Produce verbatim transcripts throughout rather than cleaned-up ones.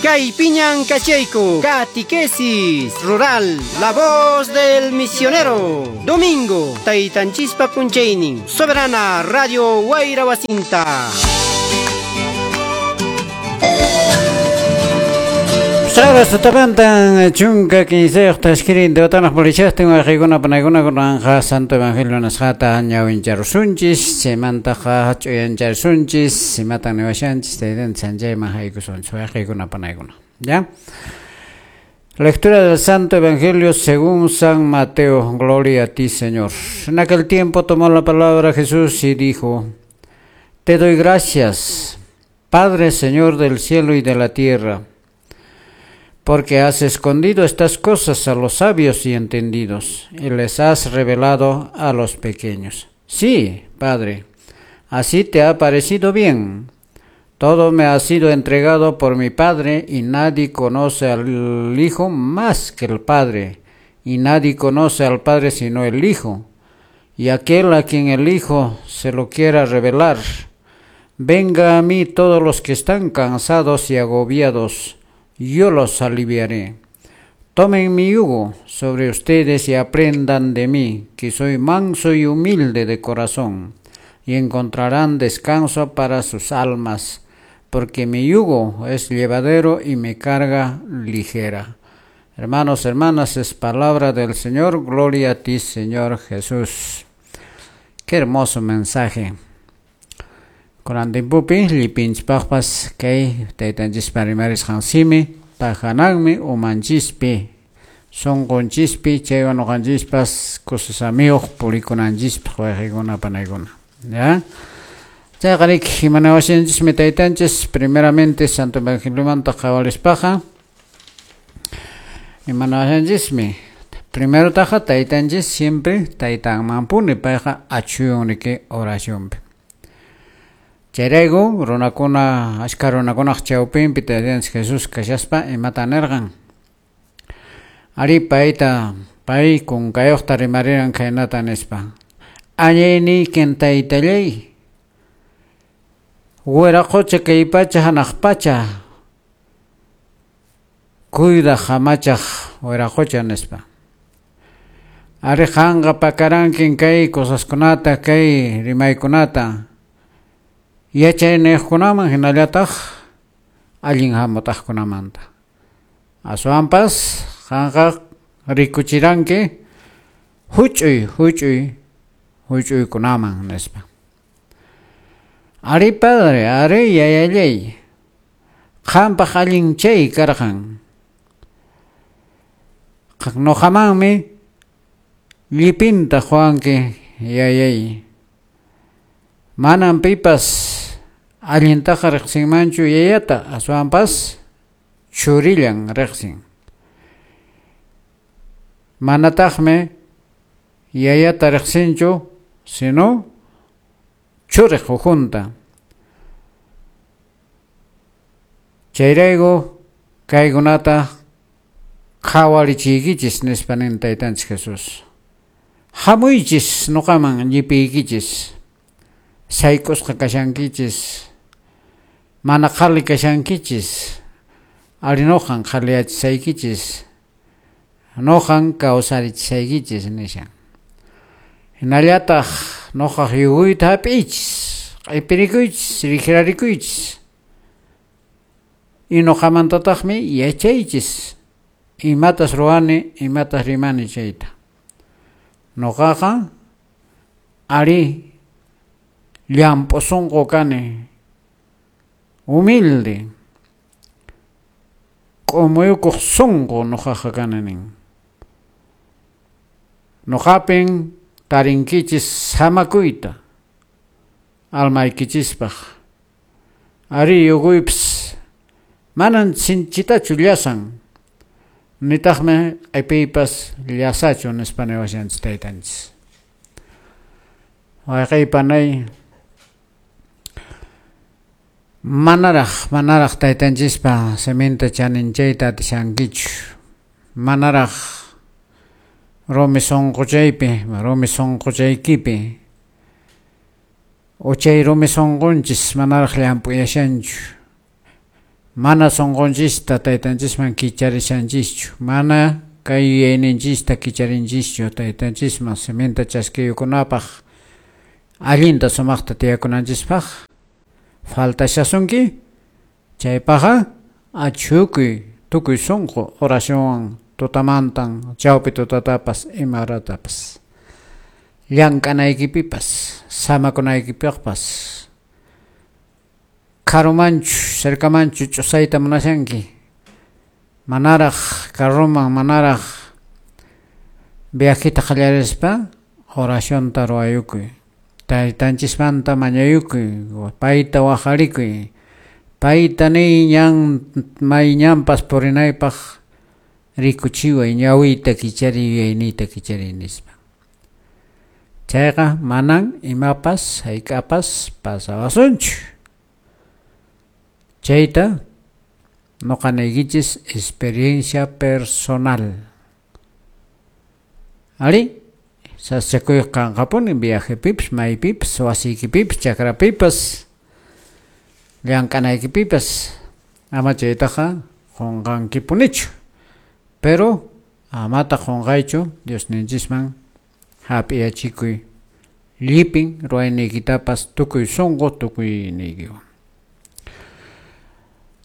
Kaypiñan kachayku, Catequesis Rural, La Voz del Misionero. Domingo, Taytanchispa punchaynin, Soberana Radio Wayra Wasinta. Saras tutamantan chunka kinsayuq tashkirin deotanaq purichaqtin wayqiykuna panaykuna kunanqa Santo Evangelio nisqata ñawincharusunchis chaymantaqa ch'uyancharusunchis imatan niwashanchis taytanchis anchayman haykusunchis wayqiykuna panaykuna. ¿Ya? Lectura del Santo Evangelio según San Mateo. Gloria a ti, Señor. En aquel tiempo tomó la palabra Jesús y dijo: Te doy gracias, Padre, Señor del cielo y de la tierra, porque has escondido estas cosas a los sabios y entendidos, y les has revelado a los pequeños. Sí, Padre, así te ha parecido bien. Todo me ha sido entregado por mi Padre, y nadie conoce al Hijo más que el Padre, y nadie conoce al Padre sino el Hijo, y aquel a quien el Hijo se lo quiera revelar. Venga a mí todos los que están cansados y agobiados, yo los aliviaré. Tomen mi yugo sobre ustedes y aprendan de mí, que soy manso y humilde de corazón, y encontrarán descanso para sus almas, porque mi yugo es llevadero y mi carga ligera. Hermanos, hermanas, es palabra del Señor. Gloria a ti, Señor Jesús. Qué hermoso mensaje. Kunan timpupi llipinchpaqpas kay taytanchispa rimarisqan simi tahananmi umanchispi sunqunchishpi chaywan ñuqanchispas kusasamiyuq purikunanchispaq wayqiykuna panaykuna. ¿Ya? Chayqa riki imanawashanchismi taytanchis primeramente Santo Evangeliomanta qhawarispaqa imanawashanchismi primero taqa taytanchis siempre taytanmanpuni payqa achuyun riki oracionpi. Chayrayku runakuna ashka runakunaq chawpinpi taytanchis Jesús kashaspa imata nirqan. Ari payta pay kunkayuqta rimariran khaynata nispa: Añayniykin taytallay, wiraqocha kay pacha hanaq pacha cuidaq hamachaq wiraqocha nispa. Ari qanqa pakarankin kay cosaskunata kay rimaykunata yachayniyuqkunaman hinallataq allin hamutaqkunamanta. Aswanpas qanqa rikuchiranki huch'uy huch'uy huch'uykunaman nispa. Ari padre, ari yayallay, qampaq allin chay karqan. Nuqamanmi llipinta quwanki yayay. Manan pipas allintaqa riqsinmanchu yayata, aswanpas churillan riqsin. Manataqmi yayata riqsinchu, sino churiq ukhunta. Chayrayku kaykunata qhawarichiykichis nispa nin taytanchis Jesús. Hamuychis nuqaman llipiykichis, sayk'usqa kashankichis, mana qhali kashankichis, ari nuqan qhaliyachisaykichis, nuqan kawsarichisaykichis nishan. Hinallataq nuqaq yuguyta hap'iychis, q'ipirikuychis, rijrarikuychis, y nuqamantataqmi yachaychis imatas ruwani, imatas rimani chayta. Nuqaqa ari llamp'u sunqu kani, humilde, k'umuykuq sunqu nuqaqa kani nin. Nuqapin tarinkichis samakuyta almaykichispaq. Ari yuguypis manan sinchitachu llasan, nitaqmi q'ipiypas llasachu nispa niwashanchis taytanchis. Wayqiy panay, manaraq manaraq taytanchispa siminta chaninchayta atishankichu, manaraq rumi sunquchaypi, rumi sunquchaykipi uchay rumi sunqunchis manaraq llamp'uyashanchu, Mana sunqunchista taytanchisman kicharishanchischu, mana kay yuyayninchista kicharinchischu taytanchisman siminta chaskiyukunapaq allinta sumaqta tiyakunanchispaq faltashasunki, chaypaqqa achhukuy tukuy sunqu oracionwan tutamantan chawpi tutatapas ima horatapas llank'anaykipipas samakunaykipiqpas karumanchu cercamanchu ch'usayta munashanki manaraq carroman manaraq viajeta qallarispa oracionta ruwayukuy taytanchismanta mañayukuy payta waqarikuy payta niy ñan may ñanpas purinaypaq rikuchiway ñawiyta kichariy yuyayniyta kichariy nispa. Chayqa manan imapas hayk'apas pasawasunchu. Chayta noqa niykichis experiencia personal. Ari, sasachakuy kanqapuni viajepipas, maypipas, wasiykipipas, chakrapipas, llank'anaykipipas, ama chaytaqa qunqankipunichu. Pero amata qunqaychu Diosninchisman hap'iyachikuy llipin ruwayniykitapas tukuy sunqu tukuy niykiwan.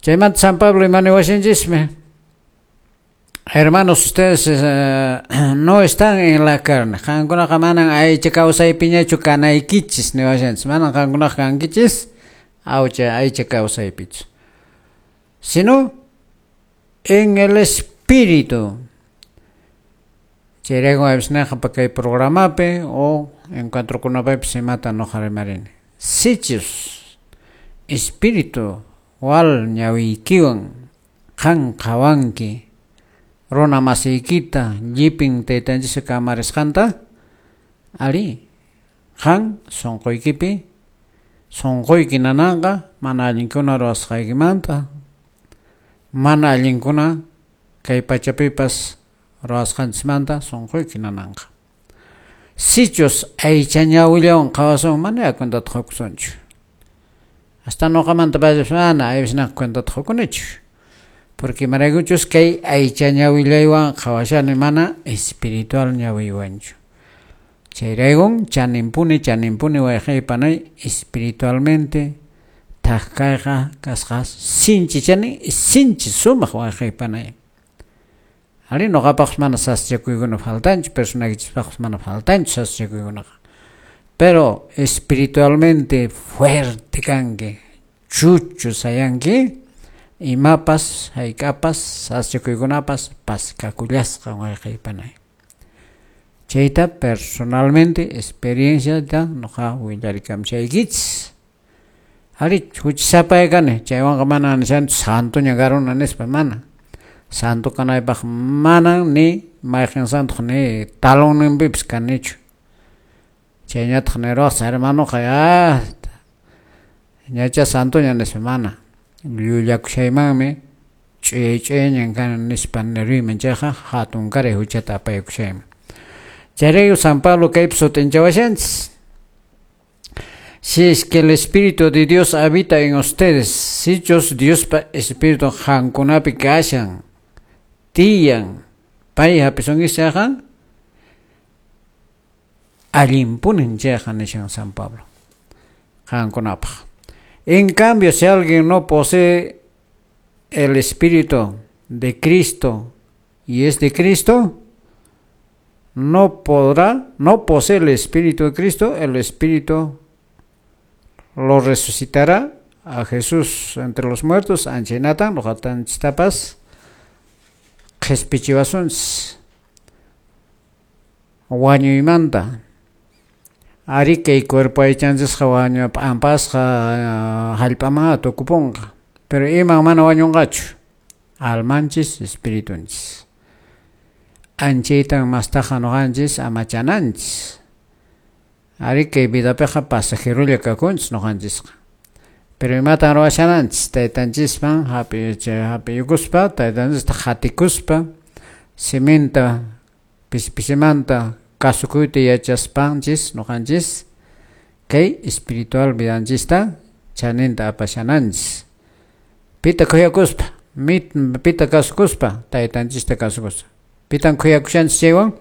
Chaymanta San Pablo imaniwashanchismi. Hermanos, ustedes eh, no están en la carne. Qankunaqa manan aycha kawsaypiñachu kanaykichis niwashanchis. Manan qankunaqa kankichis aycha aycha kawsaypichu, sino en el espíritu. Chayrayku avisnaqa pa kay programapi o encuentrokunapipis imata noqa rimarini. Sichus espíritu wal ñawiykiwan qan qhawanki runa masiykita llipin taytanchis kamarisqanta, ari qan sunquykipi sunquyki nananqa mana allinkuna ruwasqaykimanta, mana allinkuna kay pachapipas ruwasqanchismanta sunquyki nananqa. Sichus aycha ñawillawan qhawasun mana cuentata qukusunchu. Hasta noqamanta paypas mana aysnaqa cuentata qukunichu. Porque imaraykuchus kay aycha ñawillaywan qhawashani mana espiritual ñawiywanchu. Chayraykun chaninpuni chaninpuni wayqey panay espiritualmente thak kayqa kasqa sinchi chanin sinchi sumaq wayqey panay. Ari noqapaqpas mana sasachakuykuna faltanchu, personaykichispaqpas mana faltanchu sasachakuykunaqa. Pero espiritualmente fuerte kanki, chuchu sayanki, imapas hayk'apas sasachakuykunapas paskakullasqa wayqey panay. Chayta personalmente experienciata noqa willarikamchaykichis. Ari huchasapay kani, chaywanqa mana nishanchu santoña karuna nispa mana. Santo kanaypaq mana ni mayqin santoq ni talonninpipas kanichu. Chayñataq niruwaqsa hermanoqa ah, ñacha santoña nispa mana. Llullakushaymanmi ch'uyay ch'uyayñan kani nispa niruyman chayqa hatunkaray huchata apaykushayman. Chayrayku San Pablo kaypi sut'inchawashanchis. Si es que el Espíritu de Dios habita en ustedes, sichus Diospa Espíritu qankunapi kashan, tiyan, pay hapisunkichis chayqa, allinpunin chayqa nishan San Pablo qankunapaq. En cambio, si alguien no posee el Espíritu de Cristo y es de Cristo, no podrá, no posee el Espíritu de Cristo, el Espíritu lo resucitará a Jesús entre los muertos, anchaynatan, noqatanchistapas qhispichiwasunchis wañuymanta. Ari kay cuerpo aychanchisqa wañu p'ampasqa hallp'amanqa tukupunqa, pero iman mana wañunqachu, almanchis espiritunchis. Anchaytan mastaqa noqanchis amachananchis. Ari kay vidapiqa pasajerolla kakunchis noqanchisqa. Pero imatan ruwashananchis taytanchisman hap'iyukuspa, taytanchista qhatikuspa, siminta pisi pisimanta kasukuyta yachaspanchis noqanchis kay espiritual vidanchista chaninta apashananchis. Pita khuyakuspa, mit pita kasukuspa, taytanchista kasukuspa. Pitan khuyakushanchis chaywan?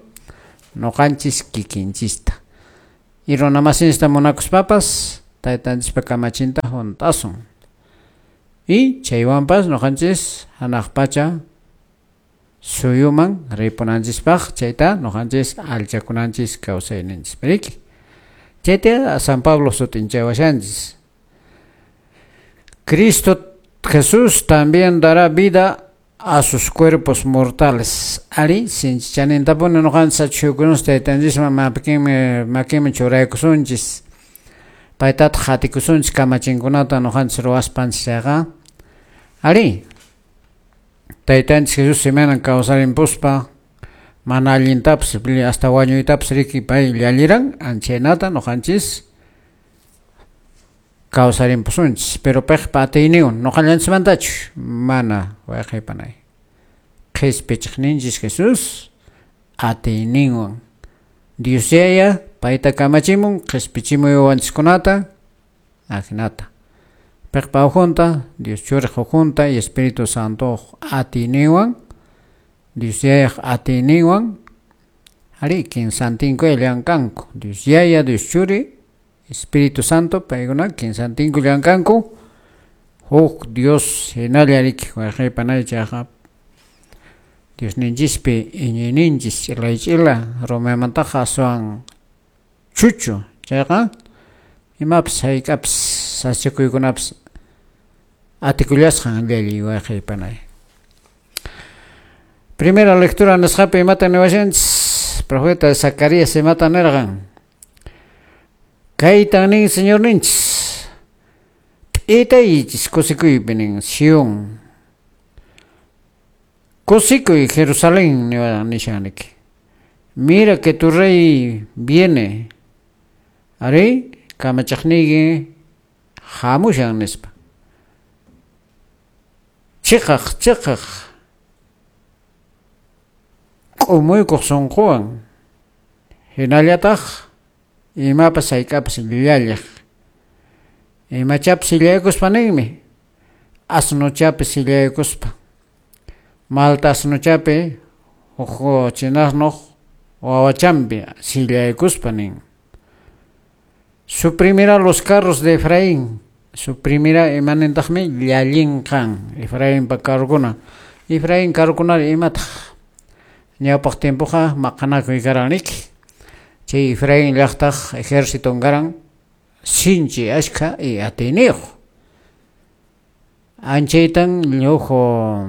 Noqanchis kikinchista. Y runamasinchista munakuspapas taytanchispa kamachinta hunt'asun. Y chaywanpas noqanchis hanaq pacha suyuman ripunanchispaq chayta noqanchis allchakunanchis kawsayninchis. Riki? Chayta San Pablo sut'inchawashanchis. Cristo Jesús también dará vida a sus cuerpos mortales. Ari, sinchichanintapuni noqanchis achhukunus taytanchisman makinmi makinmi churaykusunchis. Paytataq qatikusunchis kamachinkunata noqanchis ruwaspanchis chayqa. Ari, taytanchis Jesús imaynan kawsarimpuspa mana allintapas hasta wañuytapas riki pay llalliran anchaynata noqanchis kawsarimpusunchis, pero paypa atiyninwan noqallanchismantachu mana wayqaypanay. Qhispichiqninchis Jesús atiyninwan Dios Yaya payta kamachimun qhispichimuy wawanchiskunata ajinata. Paypa ukhunta, Dios Churiq ukhunta y Espíritu Santo atiyninwan, Dios Yayaq atiyninwan, ari kinsantinkuya llamkanku. Dios Yaya, Dios Churi, Espíritu Santo, paykuna kinsantinkuya llamkanku. Huk Dios hinalla riki wayqaypanay chayqa Diosninchispi iñiyninchis ch'ilay ch'ila rumaymantaqa aswan chuchu chayqa imapas hayk'apas sasachakuykunapas atikullasqan llalliy wayqaypanay. Primera lectura nisqapi imata niwashanchis profeta Zacarías imata nirqan. Kaytan nin Señorninchis p'itaychis kusikuypi nin Sion. Kusikuy Jerusalén nishan riki. Mira que tu rey viene. Ari kamachiqniyki hamushan nispa. Chiqaq chiqaq k'umuykuq sunquwan hinallataq imapas hayk'apas llalliq. Imachapas sillaykuspa ninmi asnuchapi sillaykuspa. Malta asnuchapi huk chinasnuq wawachampi sillaykuspa nin. Suprimirá los carros de Efraín. Suprimirá imanintaqmi llallinqan Efraínpa carrokuna. Efraín carrokunari imataq ñawpaq tiempoqa maqanakuy karan riki. Chay Efraín llaqtaq ejérciton karan sinchi ashkha y atiyniyuq. Anchaytan lluqu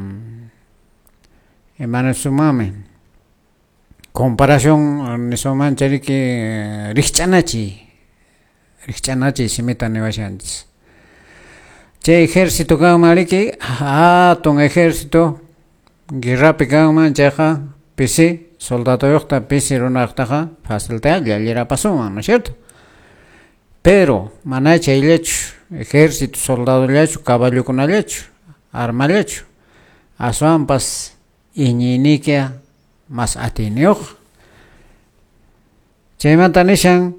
imanasumami comparación nisuman chayriki rikch'anachiy rikch'anachiy simita niwashanchis. Chay ejército kanman riki hatun ejército guerrapi kanman chayqa pisi soldaduyuqta pisi runaqtaqa facilta llallirapasunman, ¿no es cierto? Pero mana chayllachu ejército soldadollachu caballokunallachu armallachu aswanpas iñiynikiqa mas atiyniyuq. Chaymanta nishan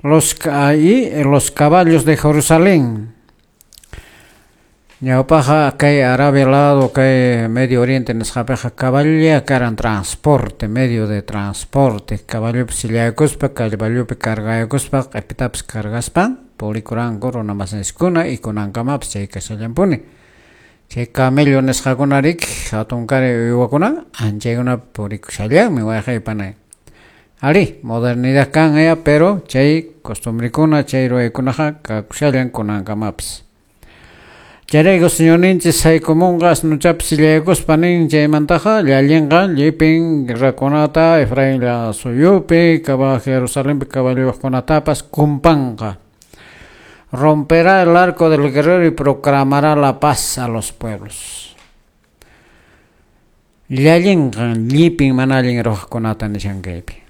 los, y los caballos de Jerusalén. Ñawpaqa kay Arabia lado, kay Medio Oriente nisqapiqa caballolla karan transporte, medio de transporte. Caballopi sillaykuspa, caballopi cargaykuspa, q'ipitapas cargaspa purikuranku runa masinchiskuna y kunankamapas chay kashallanpuni. Chay camello nisqakuna riki hatunkari uywakuna anchaykunapi purikushallanmi wayqaypanay. Ari, modernidad kan ya, pero chay costumbrekuna, chay ruwaykunaqa kakushallan kunankamapas. Chayrayku Señorninchis haykumunqa asnuchapi sillaykuspa nin chaymantaqa llallinqa llipin guerrakunata Efraín suyupi, Jerusalenpi caballokunatapas kumpanqa. Romperá el arco del guerrero y proclamará la paz a los pueblos. Llallinqa llipin mana allin ruwaqkunata nishan kaypi.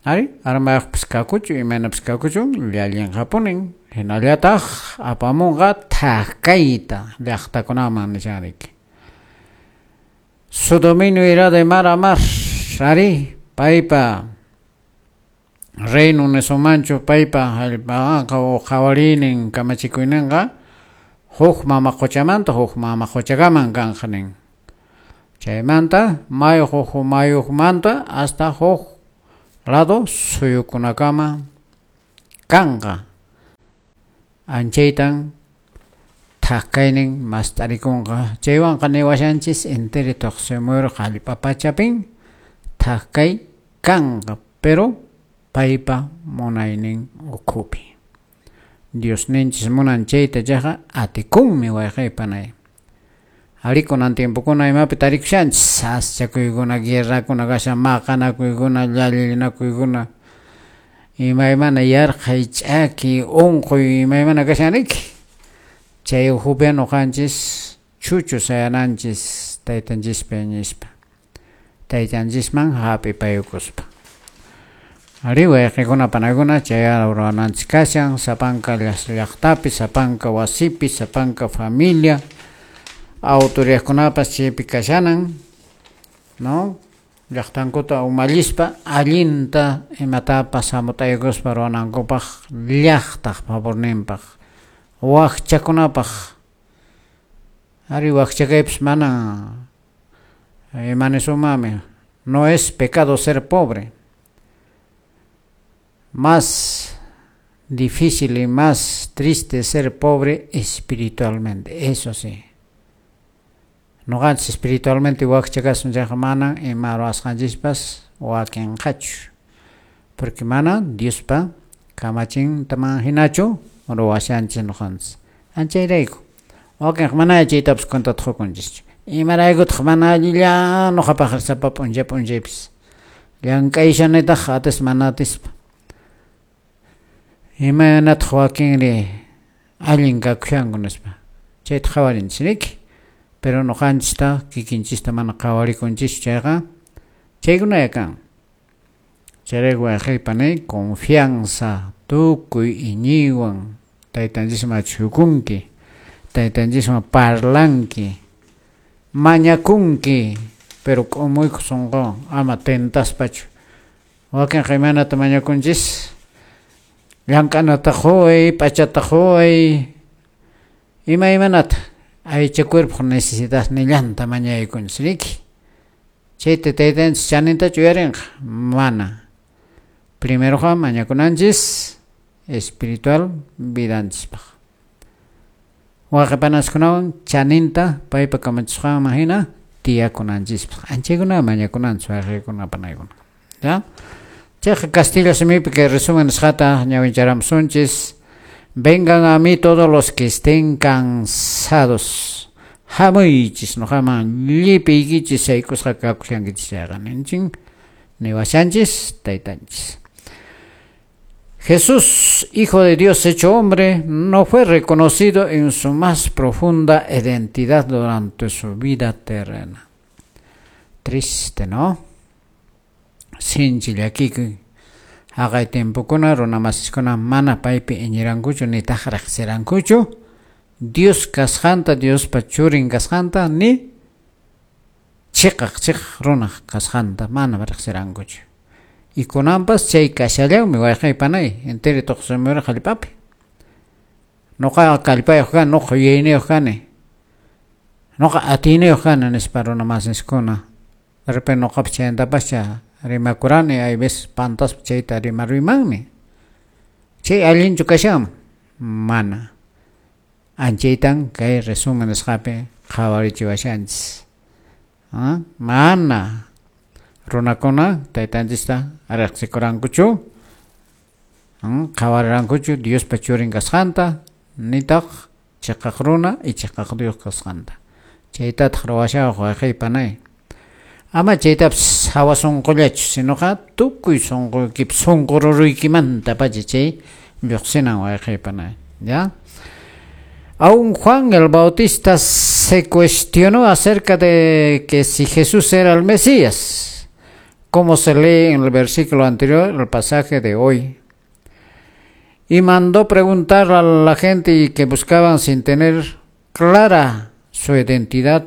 Ari, armayuqpas kakuchu, imaynapas kakuchu, llallinqapunin. Hinallataq apamunqa thakayta llaqtakunaman nishan riki. Su dominio irá de mar a mar. Ari, paypa reino nisumanchu, paypa hallp'anqa o qhawariynin kamachikuyninqa Huk mama qochamanta huk mama qochakaman kanqa nin. Chaymanta mayu huk mayumanta hasta huk lado suyukunakama kanqa. Anchaytan thak kaynin mast'arikunqa. Chaywanqa niwashanchis interi tuqsimuyuq hallp'a pachapin thak kay kanqa, pero paypa munaynin ukhupi. Diosninchis munan chayta chayqa atikunmi wayqey panay. Ari kunan tiempokuna imapi tarikushanchis sasachakuykuna, guerrakuna kashan, maqanakuykuna, llallinakuykuna, imaymana yarqhay, ch'aki, unquy imaymana kashan riki. Chay ukhupi ñuqanchis chuchu sayananchis taytanchispi iñispa, taytanchisman hap'ipayukuspa. Ari wayqikuna panaykuna chay ruwananchis kashan sapanka llaqtapi, sapanka wasipi, sapanka familia, autoridadkunapas chaypi kashanan, no? Llaqtankuta umallispa allinta imatapas hamut'aykuspa ruwanankupaq llaqtaq favorninpaq, wakchakunapaq. Ari wakcha kaypas mana imanisunmanmi, no es pecado ser pobre. Más difícil y más triste ser pobre espiritualmente, eso sí. Ñuqanchis espiritualmente wakcha kasun chayqa mana ima ruwasqanchispas wakinqachu, porque mana Diospa kamachintaman hinachu ruwashanchis ñuqanchis. Anchayrayku wakinqa mana chaytapas cuentata qukunchischu. Imaraykutaq mana allilla ñuqapaq sapa p'unchay p'unchaypis llank'ayshanitaq atispa mana atispa. Imaynataq wakinri allin kakushanku nispa chayta qhawarinchis riki. Pero ñuqanchista kikinchista mana qhawarikunchischu chayqa chaykunaya kan. Chayrayku wayqey panay confianza tukuy iñiywan taytanchisman achhukunki, taytanchisman parlanki, mañakunki, pero k'umuykuq sunquwan ama tentaspachu. Wakinqa imaynata mañakunchis llank'anata quway, p'achata quway, imaymanata aycha cuerpoq necesidadnillanta mañaykunchis riki. Chayta taytanchis chanintachu uyarinqa? Mana. Primeroqa mañakunanchis espiritual vidanchispaq. Wayqi panaskunawan chaninta paypa kamachisqanman hina tiyakunanchispaq. Anchaykuna mañakunanchis wayqikuna panaykuna. ¿Ya? Chayqa castilla simipi kay resumen nisqata ñawincharamusunchis. Vengan a mí todos los que estén cansados. Hamuychis ñuqaman llipiykichis sayk'usqa kakushankichis chayqa ninchin niwashanchis taytanchis. Jesús, Hijo de Dios hecho hombre, no fue reconocido en su más profunda identidad durante su vida terrena. Triste, ¿no? Sinchi llakikuy. Haqay tiempokuna runa masiskuna mana paypi iñirankuchu nitaq riqsirankuchu Dios kasqanta, Diospa churin kasqanta, ni chiqaq chiqaq runaq kasqanta mana riqsirankuchu. Y kunanpas chay kashallanmi wayqey panay interi tuqsimuyuq hallp'api. Ñuqaqa kallpayuq kani, ñuqa yuyayniyuq kani, ñuqa atiyniyuq kani nispa runa masiskuna. De repente ñuqapas chaymantapascha rimakurani, hay veces pantaspa chayta rimaruymanmi. Chay allinchu kashanman? Mana. Anchaytan kay resumen nisqapi qhawarichiwashanchis. ¿Ah? Mana runakuna taytanchista riqsikurankuchu, qhawarirankuchu Diospa churin kasqanta, nitaq chiqaq runa y chiqaq Dios kasqanta. Chaytataq ruwashawaq wayqey panay. Ama chaytapas hawa sunqullachu, sinoqa tukuy sunquykipi sunqu ruruykimantapacha chay lluqsinan wayqey panay. ¿Ya? Aún Juan el Bautista se cuestionó acerca de que si Jesús era el Mesías, como se lee en el versículo anterior, el pasaje de hoy. Y mandó preguntar a la gente y que buscaban sin tener clara su identidad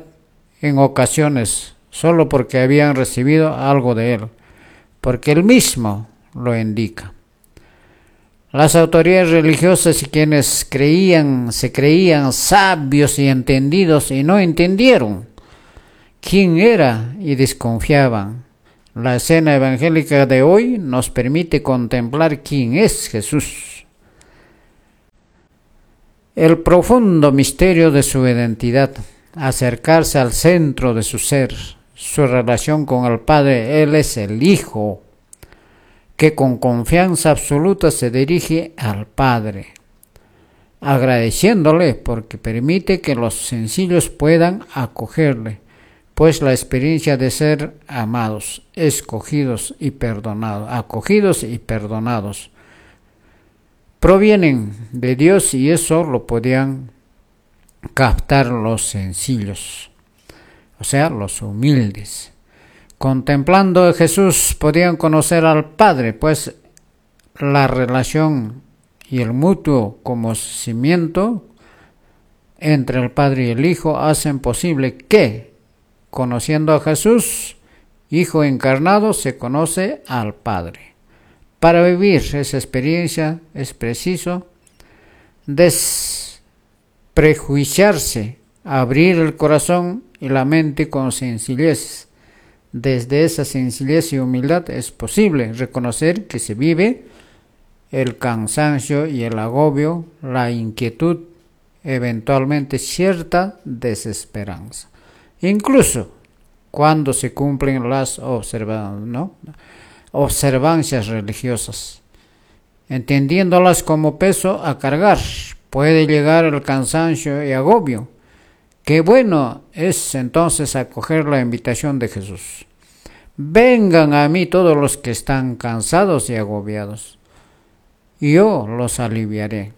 en ocasiones, solo porque habían recibido algo de él, porque él mismo lo indica. Las autoridades religiosas y quienes creían, se creían sabios y entendidos y no entendieron quién era y desconfiaban. La escena evangélica de hoy nos permite contemplar quién es Jesús. El profundo misterio de su identidad, acercarse al centro de su ser, su relación con el Padre. Él es el Hijo, que con confianza absoluta se dirige al Padre, agradeciéndole porque permite que los sencillos puedan acogerle, pues la experiencia de ser amados, escogidos y perdonados, acogidos y perdonados, provienen de Dios, y eso lo podían captar los sencillos, o sea, los humildes. Contemplando a Jesús podían conocer al Padre, pues la relación y el mutuo conocimiento entre el Padre y el Hijo hacen posible que, conociendo a Jesús, Hijo encarnado, se conoce al Padre. Para vivir esa experiencia es preciso desprejuiciarse, abrir el corazón y la mente con sencillez. Desde esa sencillez y humildad es posible reconocer que se vive el cansancio y el agobio, la inquietud, eventualmente cierta desesperanza, incluso cuando se cumplen las observa, ¿no? observancias religiosas, entendiéndolas como peso a cargar, puede llegar el cansancio y agobio. Qué bueno es entonces acoger la invitación de Jesús. Vengan a mí todos los que están cansados y agobiados, y yo los aliviaré.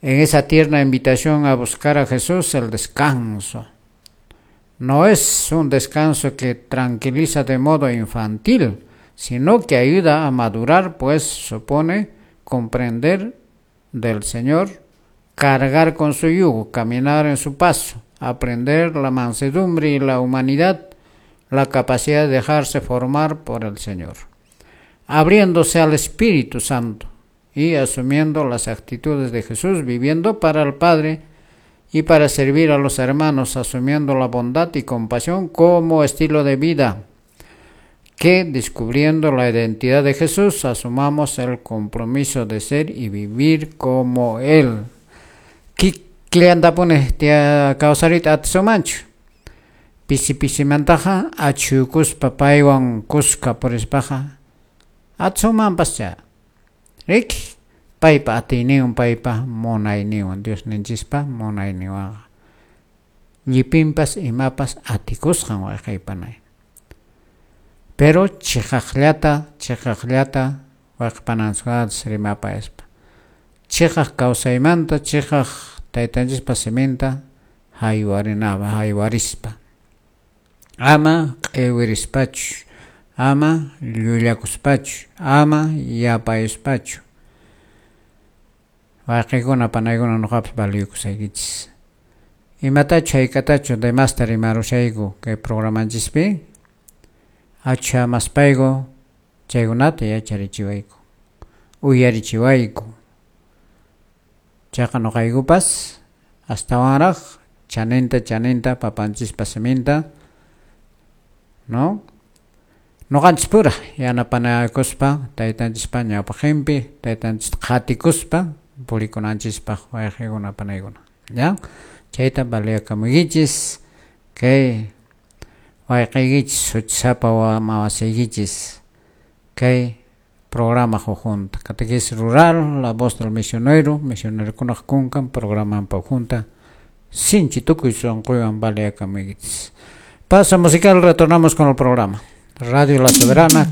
En esa tierna invitación a buscar a Jesús el descanso. No es un descanso que tranquiliza de modo infantil, sino que ayuda a madurar, pues supone comprender del Señor, cargar con su yugo, caminar en su paso, aprender la mansedumbre y la humanidad, la capacidad de dejarse formar por el Señor, abriéndose al Espíritu Santo y asumiendo las actitudes de Jesús, viviendo para el Padre y para servir a los hermanos, asumiendo la bondad y compasión como estilo de vida, que descubriendo la identidad de Jesús, asumamos el compromiso de ser y vivir como Él. Killantapuni tia kawsarita atisunmanchu, pisi pisimantaqa achhukuspa paywan kuska purispaqa atisunmanpascha, riki paypa atiyninwan, paypa munayninwan, Diosninchispa munayninwanqa llipinpas imapas atikusqan wayqaypanay. Pero chiqaqllata chiqaqllata wayqipananchiskunata rimapayaspa, chiqaq kawsaymanta, chiqaq taytanchispa siminta haywarinaba, haywarispa, ama q'iwirispachu, ama llullakuspachu, ama yapayuspachu. Wayqikuna panaykuna nuqapas valiyukusaykichis. Imatachu hayk'atachu demasta rimarushayku kay programanchispi, achhamaspayku chaykunata yacharichiwayku, uyarichiwayku. Chayqa nuqaykupas astawanraq chaninta chaninta papanchispa siminta, no? Nuqanchispura yanapanakuspa taytanchispa ñawpaqinpi, taytanchista qhatikuspa purikunanchispaq wayqikuna panaykuna, ya? Chayta valiyakamunkichis kay wayqiykichis huchasapa mawasiykichis kay programa junta Catequesis Rural, La Voz del Misionero, misionerokunaq kunkan programanpa junta sinchi tukuy sunquywan valiyakamunkichis. Paso musical, retornamos con el programa. Radio La Soberana.